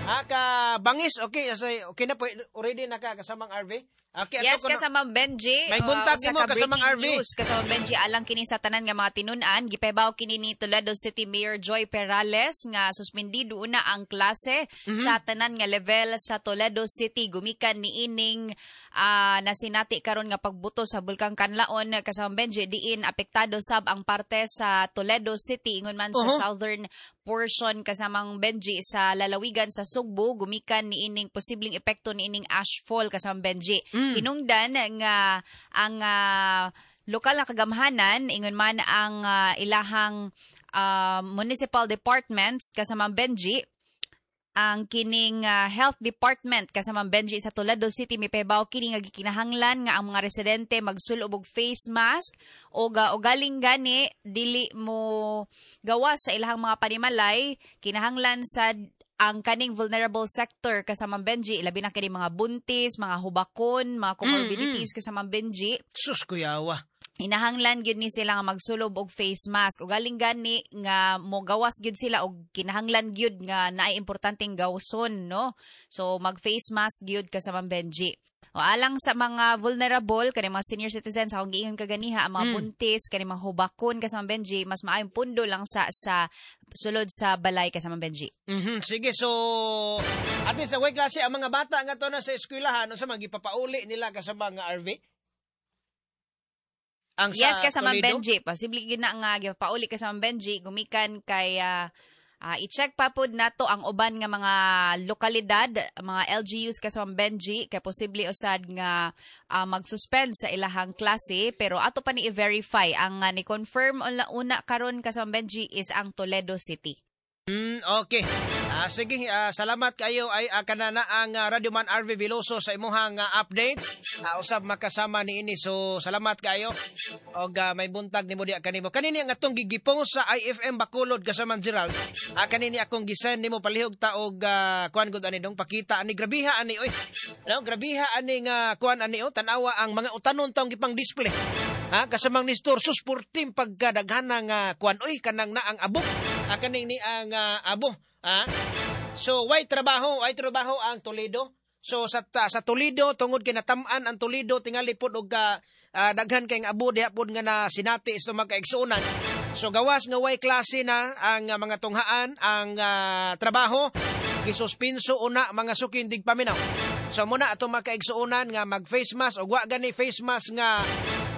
Ah, ka bangis. Okay, okay na po already na ka kasamang R V. Okay, yes, kasamang Benji. May buntag uh, mo kasamang R V. News, kasamang Benji, alang kini sa tanan nga mga tinun-an, gipahibaw kini ni Toledo City Mayor Joy Perales nga suspindido una ang klase mm-hmm. sa tanan nga level sa Toledo City gumikan niining uh, nasinati karon nga pagbuto sa Bulkang Kanlaon kasamang Benji diin apektado sab ang parte sa Toledo City ingon man uh-huh. sa southern portion kasamang Benji sa lalawigan sa Sugbo gumikan niining posibleng epekto niining ashfall kasamang Benji. Mm. Hinungdan nga ang uh, lokal na kagamhanan ingon man ang uh, ilahang uh, municipal departments kasamang Benji ang kining uh, health department kasamang Benji sa Toledo City mipahibaw kini nga gikinahanglan nga ang mga residente magsulob og face mask o uh, galing gani dili mo gawas sa ilahang mga panimalay kinahanglan sa ang kaning vulnerable sector kasamang Benji ilabi na kini mga buntis, mga hubakon, mga comorbidities mm-hmm. kasamang Benji. Sus kuyawa. Hinahanglan gyud ni sila nga magsulob og face mask. Ug galing gani nga mogawas gyud sila og kinahanglan gyud nga naay importanteng gawson, no? So mag face mask gyud kasamang Benji. O alang sa mga vulnerable, kani mga senior citizens, akong giingon kaganiha, ang mga Mm. buntis, kani mga hubakon kasamang Benji, mas maayong pundo lang sa sa sulod sa balay kasamang Benji. Mhm, sige, so at least sa way klase ang mga bata nga to na sa eskwelahan unsa man gipapauli nila kasama nga R V? Ang sa Yes, kasamang Toledo? Benji. Posible gid na nga gipauli kasamang Benji gumikan kay ah, ah, i-check pa pod nato ang uban nga mga lokalidad, mga L G Us kasamang Benji, kay posible usad nga ah, mag-suspend sa ilahang klase, pero ato pa ni i-verify. Ang ah, ni-confirm una, una karon kasamang Benji is ang Toledo City. Mm, okay. Ah, sige, ah, salamat kayo ay uh, kanana ang uh, Radyo Man R V Veloso sa imuhang ah, update. Ah, usab makasama ni ini. So salamat kayo. Og ah, may buntag nimo diha kanimo. Kanini ang atong gigipong sa I F M Bacolod kasama Gerald. Ah, kanini akong gisend nimo palihog ta og ah, kuan gud ani dong pakita ani grabiha ani oy. No, grabiha ani nga kuan ani oh, tan-awa ang mga utanon taong gipang display. Ha, kasamang ni Nestor sus purtim pagkadaghana nga kuan oy kanang naang abok. Ah, kaning ni ang uh, abo. Ha? So way trabaho, way trabaho ang Toledo. So sa ta, sa Toledo tungod kay natam-an ang Toledo tingali pod og uh, uh, daghan kay abo diha pod nga na sinati sa magkaigsuonan. So gawas nga way klase na ang uh, mga tunghaan ang uh, trabaho gisuspinso una mga suki indig paminaw. So muna ato magkaigsuonan nga mag face mask og wa gani face mask nga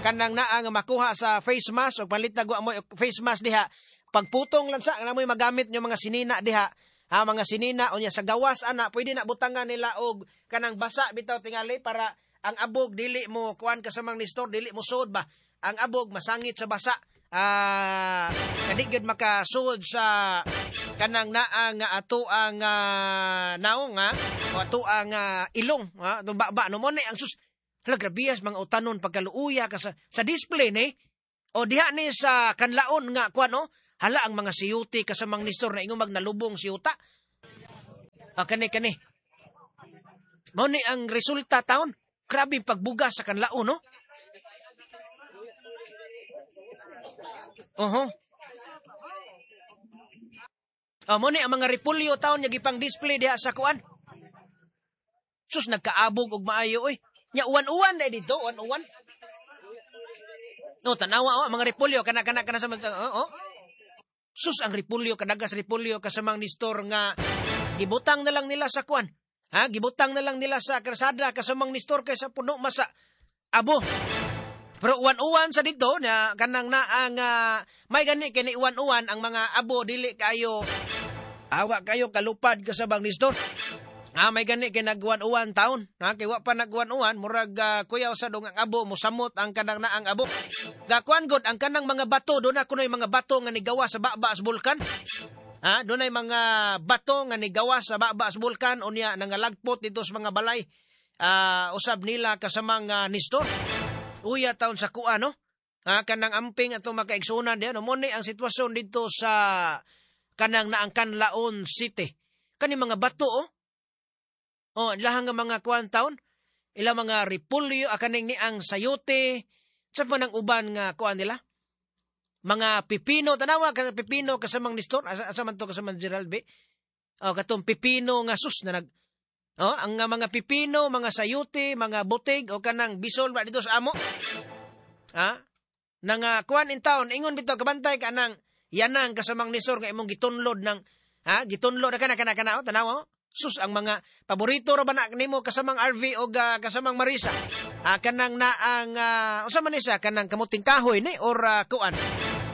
kanang naa nga makuha sa face mask og palitag wa mo face mask diha pagputong lang sa nga mo'y magamit nyo mga sinina diha. Ha, mga sinina unya sa gawas ana pwede na butangan nila og kanang basa bitaw tingali para ang abog dili mo kuan kasamang ni store dili mo suod ba ang abog masangit sa basa. Ah, kadi gyud makasuod sa kanang naa nga ato ang uh, naong ha o ato ang uh, ilong ha atong baba no mo ni ang sus hala grabiyas mga utanon pagkaluuya ka sa, sa display ni o diha ni sa kanlaon nga kuan no hala ang mga siyuti kasamang ni store na ingon magnalubong siyuta. Ah, kani kani mao ni ang resulta taon grabe pagbuga sa kanlaon no. Oho. Oh, mo ni ang mga repulyo taon nga gipang display diha sa kuan. Sus nagkaabog og maayo oy. Nya uwan-uwan dai dito, uwan-uwan. No, tanawa oh, ang mga repulyo kana kana kana sa oh, oh. Sus ang repulyo kadagas repulyo kasamang ni store nga gibutang na lang nila sa kuan. Ha, gibutang na lang nila sa kalsada kasamang ni store kaysa puno masa abo. Pero uwan-uwan sa dito na kanang naa nga may gani kini uwan-uwan ang mga abo dili kayo awa kayo kalupad kasabang ni store. Ah, may gani kay nagwan-uwan taon. Ha, kay wa pa nagwan-uwan murag uh, kuyaw sa dong ang abo mosamot ang kanang naang abo. Gakuan god ang kanang mga bato do na kunoy mga bato nga nigawa sa baba sa bulkan. Ha, dunay mga bato nga nigawa sa baba sa bulkan unya nangalagpot dito sa mga balay. Uh, usab nila kasamang uh, ni store. Uya taon sa kuan no. Ha, kanang amping ato makaigsuonan diha no mo ni ang sitwasyon dito sa kanang naang Canlaon City. Kani mga bato oh. Oh, ilahang nga mga kuan taon, ilang mga repulyo akaning ni ang sayote, sa man ang uban nga kuan nila. Mga pipino tanawa ka pipino kasamang ni store asa, asa man to kasamang Gerald B. Oh, katong pipino nga sus na nag oh, ang mga pipino, mga sayote, mga butig o kanang bisol ba dito sa amo. Ha? Nang uh, kuan in town, ingon bitaw kabantay ka nang yanang kasamang nisor nga imong gitunlod ng ha, gitunlod na kana kana kana oh, tanawa oh. Sus ang mga paborito ra ba na nimo kasamang R V o uh, kasamang Marisa. Ah, kanang naang uh, unsa man ni siya kanang kamuting kahoy ni or uh, kuan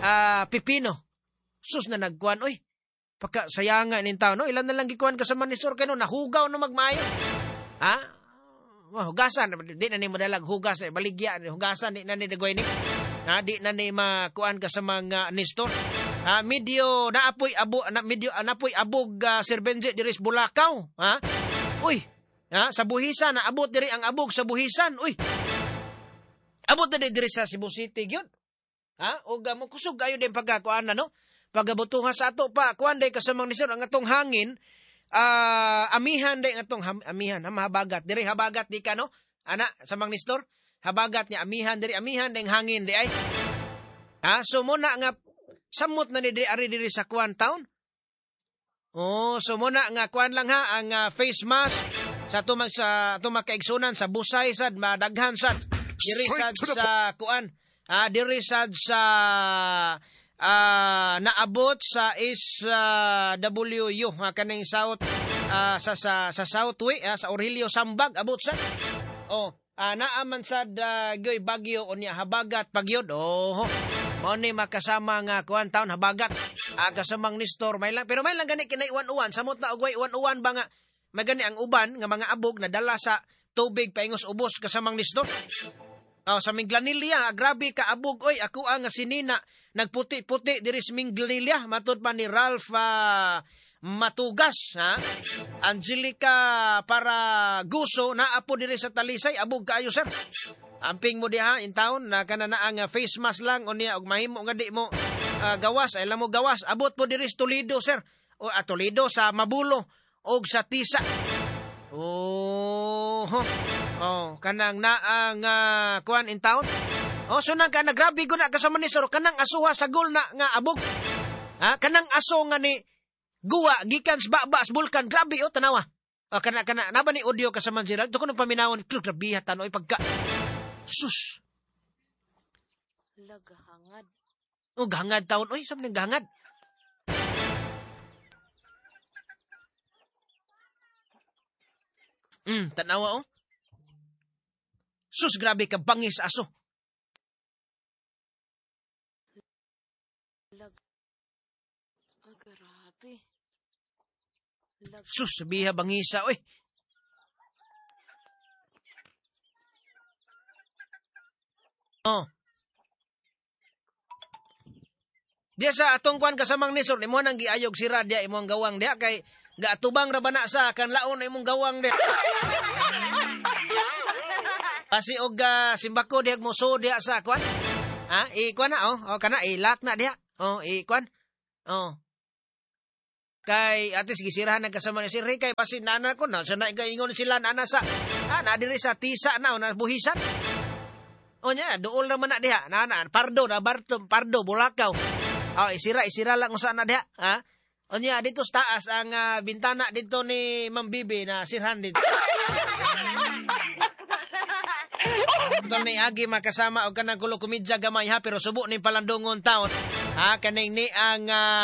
uh, pipino. Sus na nagkuan oy. Pagka sayanga nin tao no, ilan na lang gikuan kasama ni Sir kano nahugaw no magmaayo. Ha? Oh, hugasan di na ni madalag hugas baligya hugasan di na ni dagoy ni. Ha, di na ni makuan kasama nga ni Nestor. Ha, medyo naapoy abo na medyo napoy abog uh, Sir Benji diri sa Bulacau, ha? Uy, ha, sa Buhisan naabot diri ang abog sa Buhisan. Uy. Abot na diri sa Cebu City gyud. Ha? Og uh, kusog ayo din pagkakuan na no. Pagabutuhan sa ato pa kuan day kasamang ni sir ang atong hangin uh, amihan day ang atong ham, amihan ha, mahabagat diri habagat di ka no ana samang ni store habagat ni amihan diri amihan ding hangin di ay. Ha, so muna nga samot na ni di ari diri sa kuan town. Oh, so muna nga kuan lang ha ang uh, face mask sa tumang sa tumakaigsunan sa busay sad madaghan sad diri sad sa kuan. Ah, diri sad sa uh, naabot sa S W U uh, kaning South uh, sa sa sa Southway uh, sa Aurelio Sambag abot sa. Oh, uh, naaman sad uh, goy Bagyo unya habagat pagyod. Oh. Mao ni makasama nga kuan taon habagat. Ah, kasamang Nestor may lang pero may lang gani kinay uwan-uwan samot na og way uwan-uwan ba nga may gani ang uban nga mga abog nadala sa tubig paingos ubos kasamang Nestor. Oh, sa Minglanilla, grabe ka abog oy ako ang sinina nagputi-puti diri sa Minglanilla matud pa ni Ralph uh, Matugas ha. Angelica para guso naapo diri sa Talisay abog kaayo sir. Amping mo diha in town na kana na ang face mask lang unya og mahimo nga di mo uh, gawas ay lang mo gawas abot po diri sa Toledo sir. O ah, Toledo sa Mabulo og sa Tisa. Oh, oh kanang naang uh, kuan in town. Oh so nang kana grabe gud na kasama ni sir kanang asuha sa gol na nga abog. Ha kanang aso nga ni guwa gikan sa baba sa bulkan grabe oh tanawa. Oh, kana kana naba ni audio kasama Gerald to kuno paminawon grabe ha tanoy pagka sus. Lagahangad. Oh, gahangad taon. Oy, saan nang gahangad? Mm, tanawa oh. Sus, grabe ka bangis aso. Lag. Oh, grabe. Lag. Sus, biha bangisa oy. Oh. Diya sa atong kuan kasamang Nestor, imo nang giayog sira diya imong gawang diya kay gaatubang ra ba na sa kan laon na imong gawang diya. Pasi og uh, simbako diha mo so diha sa kuan. Ha, i kuan na oh, oh kana ilak na diha. Oh, i kuan. Oh. Kay atis gisirahan ang kasama ni Sir Ray kay pasi nana ko na sa naingon sila nana sa ah, na diri sa Tisa na na buhisan. O nya, duol naman na diha. Na, na, pardo, na, barto, pardo, bulakaw. O, isira, isira lang usa na diha. Ha? O nya, dito sa taas, ang uh, bintana dito ni Ma'am Bibi na sirhan dito. Ito ni Agi makasama o kanang kulo kumidya gamay ha, pero subo ni palandungon taon. Ha, kaning ni ang uh,